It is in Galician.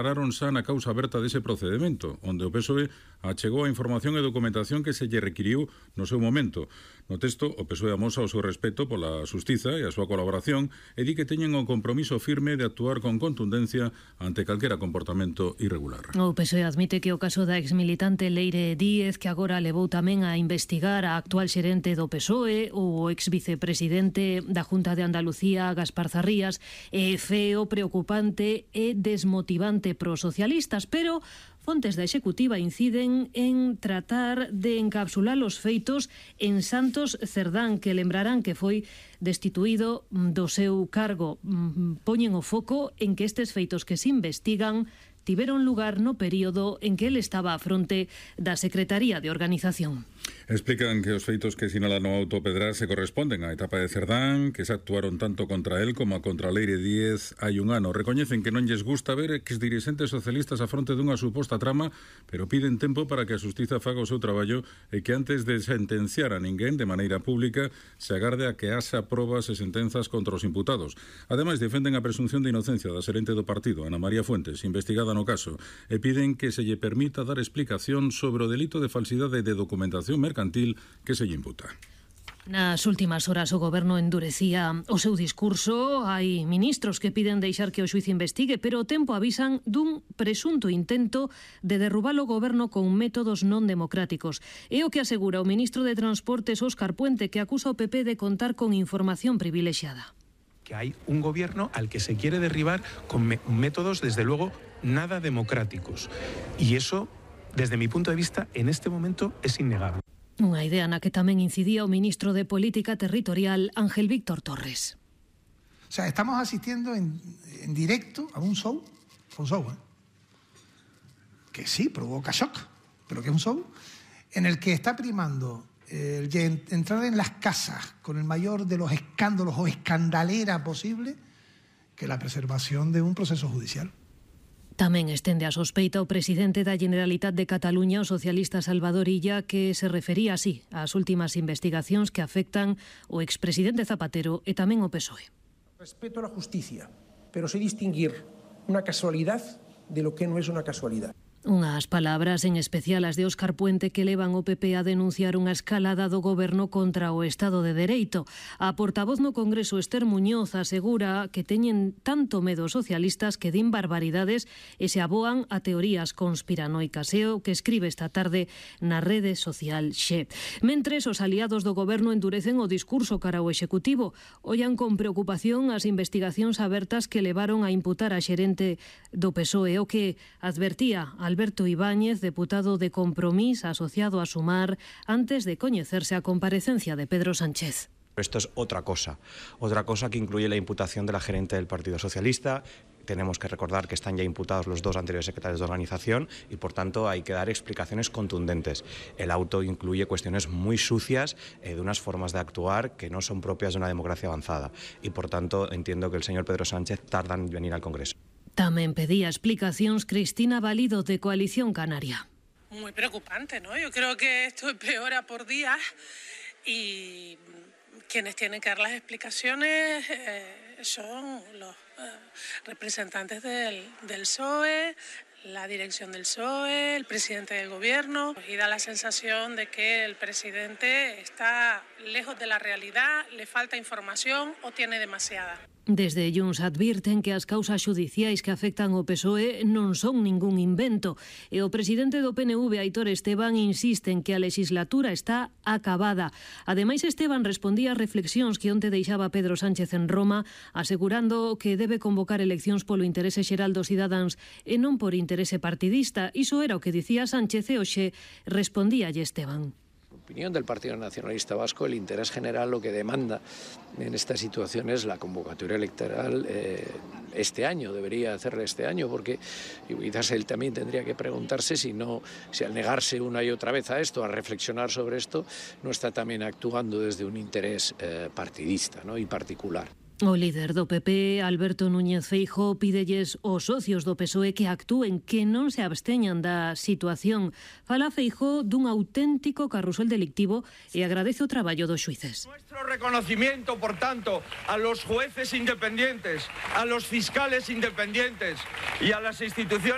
Pararon xa na causa aberta dese procedimento, onde o PSOE achegou a información e documentación que se lle requiriu no seu momento. No texto, o PSOE amosa o seu respeto pola xustiza e a súa colaboración e di que teñen o compromiso firme de actuar con contundencia ante calquera comportamento irregular. O PSOE admite que o caso da exmilitante Leire Díez, que agora levou tamén a investigar a actual xerente do PSOE, ou o exvicepresidente da Junta de Andalucía, Gaspar Zarrías, é feo, preocupante e desmotivante pros socialistas, pero fontes da Executiva inciden en tratar de encapsular os feitos en Santos Cerdán, que lembrarán que foi destituído do seu cargo. Poñen o foco en que estes feitos que se investigan tiveron lugar no período en que ele estaba á fronte da Secretaría de Organización. Explican que os feitos que sinalan no auto Pedrar se corresponden á etapa de Cerdán, que se actuaron tanto contra él como contra Leire Díez hai un ano. Recoñecen que non lles gusta ver exdirixentes socialistas a fronte dunha suposta trama, pero piden tempo para que a xustiza faga o seu traballo e que antes de sentenciar a ninguén de maneira pública se agarde a que haxa probas e sentenzas contra os imputados. Ademais, defenden a presunción de inocencia da xerente do partido, Ana María Fuentes, investigada no caso, e piden que se lle permita dar explicación sobre o delito de falsidade de documentación mercantil que se lle imputa. Nas últimas horas o Goberno endurecía o seu discurso. Hai ministros que piden deixar que o xuiz investigue, pero o tempo avisan dun presunto intento de derrubar o Goberno con métodos non democráticos. É o que asegura o ministro de Transportes, Óscar Puente, que acusa o PP de contar con información privilexiada. Que hay un gobierno al que se quiere derribar con métodos, desde luego, nada democráticos. Y eso, desde mi punto de vista, en este momento es innegable. Unha idea na que tamén incidía o ministro de Política Territorial, Ángel Víctor Torres. O sea, estamos asistiendo en directo a un show, que sí, provoca shock, pero que es un show en el que está primando entrar en las casas con el mayor de los escándalos o escandalera posible que la preservación de un proceso judicial. Tamén estende a sospeita o presidente da Generalitat de Cataluña, o socialista Salvador Illa, que se refería así ás últimas investigacións que afectan o expresidente Zapatero e tamén o PSOE. Respeto a la justicia, pero sé distinguir una casualidad de lo que no es una casualidad. Unhas palabras en especial as de Óscar Puente que levan o PP a denunciar unha escalada do Goberno contra o Estado de Dereito. A portavoz no Congreso, Esther Muñoz, asegura que teñen tanto medo os socialistas que din barbaridades e se aboan a teorías conspiranoicas. É o que escribe esta tarde na rede social Xe. Mentres, os aliados do Goberno endurecen o discurso cara ao Executivo. Ollan con preocupación as investigacións abertas que levaron a imputar a xerente do PSOE, o que advertía Alberto Ibáñez, deputado de Compromís asociado a Sumar, antes de coñecerse a comparecencia de Pedro Sánchez. Esto es otra cosa que incluye la imputación de la gerente del Partido Socialista. Tenemos que recordar que están ya imputados los dos anteriores secretarios de organización y, por tanto, hay que dar explicaciones contundentes. El auto incluye cuestiones muy sucias de unas formas de actuar que no son propias de una democracia avanzada y, por tanto, entiendo que el señor Pedro Sánchez tarda en venir al Congreso. Tamén pedía explicacións Cristina Valido, de Coalición Canaria. Muy preocupante, ¿no? Yo creo que esto empeora por días y quienes tienen que dar las explicaciones son los representantes del PSOE, la dirección del PSOE, el presidente del gobierno, y da la sensación de que el presidente está lejos de la realidad, le falta información o tiene demasiada. Desde Junts advirten que as causas xudiciais que afectan o PSOE non son ningún invento e o presidente do PNV, Aitor Esteban, insiste en que a legislatura está acabada. Ademais, Esteban respondía a reflexións que onte deixaba Pedro Sánchez en Roma, asegurando que debe convocar eleccións polo interese xeral dos cidadáns e non por interese partidista. Iso era o que dicía Sánchez e hoxe respondíalle Esteban. Opinión del Partido Nacionalista Vasco, el interés general lo que demanda en esta situación es la convocatoria electoral este año, debería hacerla este año, porque quizás él también tendría que preguntarse si al negarse una y otra vez a esto, a reflexionar sobre esto, no está también actuando desde un interés partidista, ¿no? y particular. O líder do PP, Alberto Núñez Feijóo, pídelles aos socios do PSOE que actúen, que non se absteñan da situación. Fala Feijóo dun auténtico carrusel delictivo e agradece o traballo dos xuíces. Nuestro reconocimiento, por tanto, a los jueces independientes, a los fiscales independientes y a las instituciones